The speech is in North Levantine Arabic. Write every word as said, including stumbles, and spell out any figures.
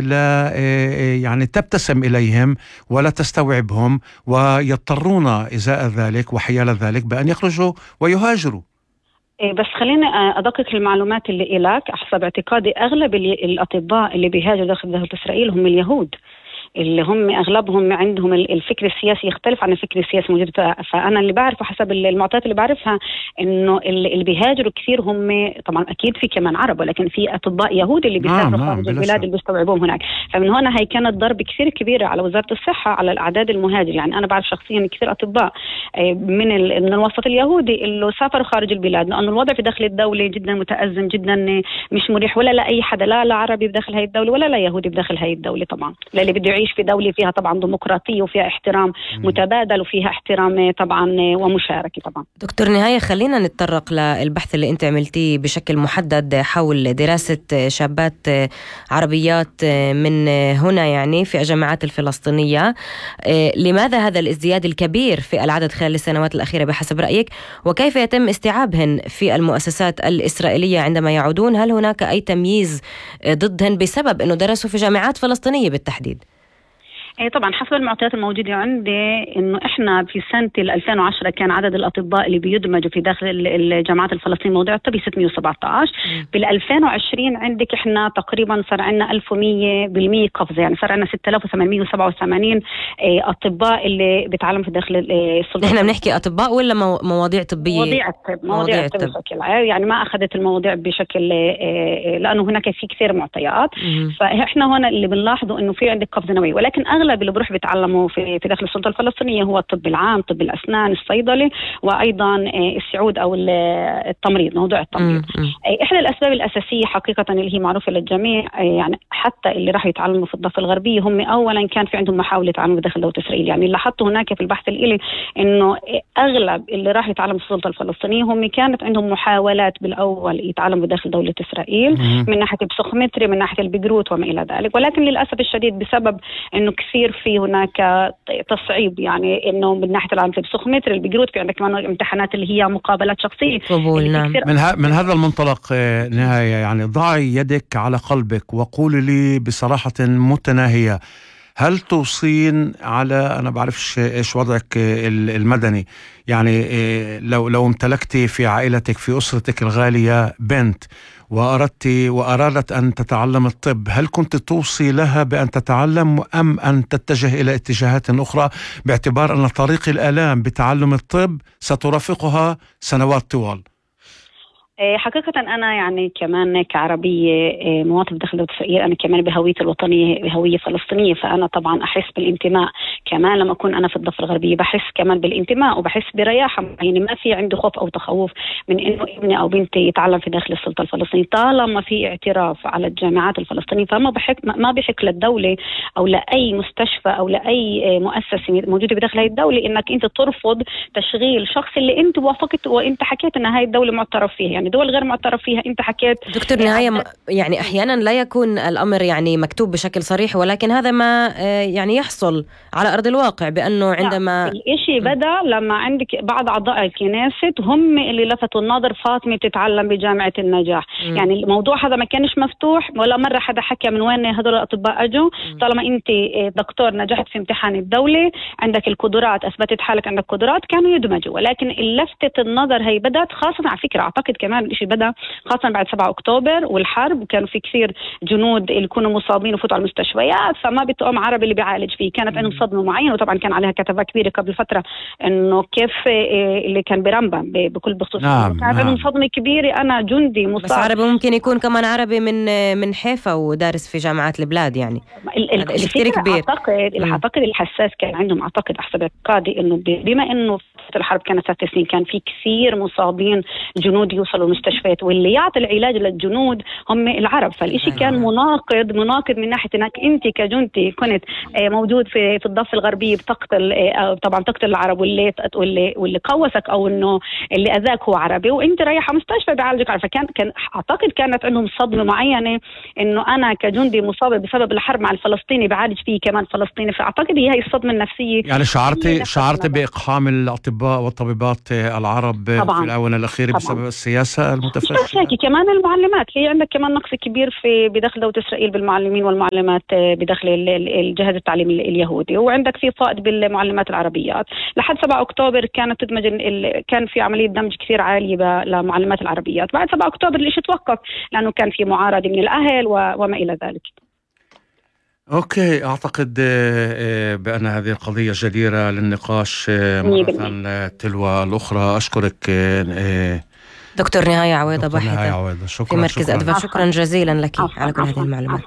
لا يعني تبتسم إليهم ولا تستوعبهم، ويضطرون إزاء ذلك وحيال ذلك بأن يخرجوا ويهاجروا. بس خليني أدقق المعلومات اللي إلك. حسب اعتقادي أغلب الأطباء اللي بيهاجروا داخل دولة إسرائيل هم اليهود، اللي هم أغلبهم عندهم الفكر السياسي يختلف عن الفكر السياسي موجود. فأنا اللي بعرفه حسب المعطيات اللي بعرفها إنه اللي بيهاجروا كثير هم طبعا أكيد في كمان عرب، ولكن في أطباء يهود اللي بيسافروا نعم خارج نعم البلاد اللي بيستوعبوهم هناك. فمن هنا هي كانت ضرب كثير كبيرة على وزارة الصحة على الأعداد المهاجر. يعني أنا بعرف شخصيا كثير أطباء من من الوسط اليهودي اللي سافروا خارج البلاد، لأنه الوضع في داخل الدولة جدا متأزم، جدا مش مريح، ولا لا أي حدا، لا لا عربي بداخل هاي الدولة ولا لا يهودي بداخل هاي الدولة طبعا، لا اللي بده يعيش في دولة فيها طبعا ديمقراطية وفيها احترام متبادل وفيها احترام طبعا ومشاركة طبعا. دكتور نهاية، خلينا نتطرق للبحث اللي انت عملتيه بشكل محدد حول دراسة شابات عربيات من هنا يعني في الجامعات الفلسطينية. لماذا هذا الازدياد الكبير في العدد خلال السنوات الأخيرة بحسب رأيك، وكيف يتم استيعابهن في المؤسسات الإسرائيلية عندما يعودون؟ هل هناك أي تمييز ضدهن بسبب أنه درسوا في جامعات فلسطينية بالتحديد؟ ايه طبعا حسب المعطيات الموجودة عندي انه احنا في سنة ألفين وعشرة كان عدد الاطباء اللي بيدمجوا في داخل الجامعات الفلسطينية موضوع الطبي ستمية وسبعة عشر. بال ألفين وعشرين عندك احنا تقريبا صار عندنا ألف ومية بالمية قفزة، يعني صار عندنا ستة آلاف وثمانمية وسبعة وثمانين ايه اطباء اللي بيتعلموا في داخل السلطة. احنا بنحكي اطباء ولا مواضيع طبية؟ مواضيع الطب، مواضيع الطب بشكل يعني ما اخذت المواضيع بشكل ايه لانه هناك في كثير معطيات. فاحنا هنا اللي بنلاحظه انه في عندك قفزة نوعية، ولكن اغلب اللي بروح بيتعلم في في داخل السلطة الفلسطينية هو الطب العام، طب الأسنان، الصيدلة، وأيضا السعود أو التمريض، موضوع التمريض. إحدى الأسباب الأساسية حقيقة اللي هي معروفة للجميع، يعني حتى اللي راح يتعلموا في الضفة الغربية هم أولا كان في عندهم محاولة تعلم داخل دولة إسرائيل. يعني لاحظته هناك في البحث الإلي إنه أغلب اللي راح يتعلموا في السلطة الفلسطينية هم كانت عندهم محاولات بالأول يتعلموا داخل دولة إسرائيل من ناحية البسخومتري، من ناحية البقروت وما إلى ذلك. ولكن للأسف الشديد بسبب إنه كثير في هناك تصعيب، يعني انه من ناحيه العام البسخومتر البقروت في عندك كمان امتحانات اللي هي مقابلات شخصيه قبول. نعم. من, ه... من هذا المنطلق نهاية، يعني ضعي يدك على قلبك وقولي لي بصراحه متناهيه، هل توصين على أنا بعرفش إيش وضعك المدني، يعني لو لو امتلكتي في عائلتك في أسرتك الغالية بنت وأردت وأرادت أن تتعلم الطب، هل كنت توصي لها بأن تتعلم أم أن تتجه إلى اتجاهات أخرى، باعتبار أن طريق الآلام بتعلم الطب سترافقها سنوات طوال؟ حقيقة أنا يعني كمان كعربية مواطنة داخل دولة إسرائيل، أنا كمان بهويتي الوطنية بهوية فلسطينية، فأنا طبعا أحس بالانتماء. كمان لما أكون أنا في الضفة الغربية بحس كمان بالانتماء وبحس برياحة، يعني ما في عندي خوف أو تخوف من إنه ابني أو بنتي يتعلم في داخل السلطة الفلسطينية طالما في اعتراف على الجامعات الفلسطينية. فما بحق ما بحق للدولة أو لأي مستشفى أو لأي مؤسسة موجودة بداخل هاي الدولة إنك أنت ترفض تشغيل شخص اللي أنت وافقت وأنت حكيت إن هاي الدولة معترف فيها. يعني دول غير معترف فيها انت حكيت. دكتور نهاية، يعني احيانا لا يكون الامر يعني مكتوب بشكل صريح، ولكن هذا ما يعني يحصل على ارض الواقع، بانه عندما الاشي بدا لما عندك بعض اعضاء الكنيسة هم اللي لفتوا النظر، فاطمة تتعلم بجامعة النجاح. م. يعني الموضوع هذا ما كانش مفتوح ولا مرة حدا حكى من وين هذول الاطباء اجوا. طالما انت دكتور نجحت في امتحان الدولة، عندك القدرات، اثبتت حالك عندك قدرات، كانوا يدمجوا. ولكن لفتة النظر هي بدات خاصة على فكرة اعتقد كمان الشيء بدأ خاصة بعد سبعة أكتوبر والحرب، وكانوا في كثير جنود اللي كانوا مصابين وفوتوا على المستشفيات، فما بتقوم عربي اللي بيعالج فيه. كانت عندهم صدمة معينة، وطبعا كان عليها كتابة كبيرة قبل فترة إنه كيف اللي كان برمبا بكل بخصوص. نعم. كانت عندهم صدمة كبيرة. أنا جندي مصاب. بس عربي ممكن يكون كمان عربي من من حيفا ودارس في جامعات البلاد، يعني هذا كثير كبير. أعتقد أعتقد الحساس كان عندهم، أعتقد أحسب اعتقادي إنه بما إنه الحرب كانت ست سنين كان في كثير مصابين جنود يوصلوا المستشفيات، واللي يعطي العلاج للجنود هم العرب. فالإشي كان مناقض مناقض من ناحية انك انت كجندي كنت موجود في في الضفة الغربية بتقتل طبعا تقتل العرب، واللي واللي واللي قوسك او انه اللي اذاك هو عربي، وانت رايحه مستشفى بيعالجك عربي. فكان كان اعتقد كانت عندهم صدمة معينة انه انا كجندي مصاب بسبب الحرب مع الفلسطيني بعالج فيه كمان فلسطيني. فاعتقد هي هي الصدمة النفسية. يعني شعرتي شعرتي باقحام الاطباء والطبيبات العرب طبعاً. في الاونه الاخيره طبعاً. بسبب السياسة رسائل متفشية. مش هيك كمان المعلمات، في عندك كمان نقص كبير في بدخل دولة إسرائيل بالمعلمين والمعلمات بدخل الجهاز التعليمي اليهودي، وعندك في فائض بالمعلمات العربيات. لحد سبعة أكتوبر كانت تدمج كان في عملية دمج كثير عالية لمعلمات العربيات. بعد سبعة أكتوبر الإشي توقف لأنه كان في معارضة من الأهل وما إلى ذلك. أوكي، أعتقد بأن هذه القضية جديرة للنقاش مرة تلو الأخرى. أشكرك دكتور نهاية عويضة، باحثة في مركز أدفع. شكرا جزيلا لك على كل هذه المعلومات.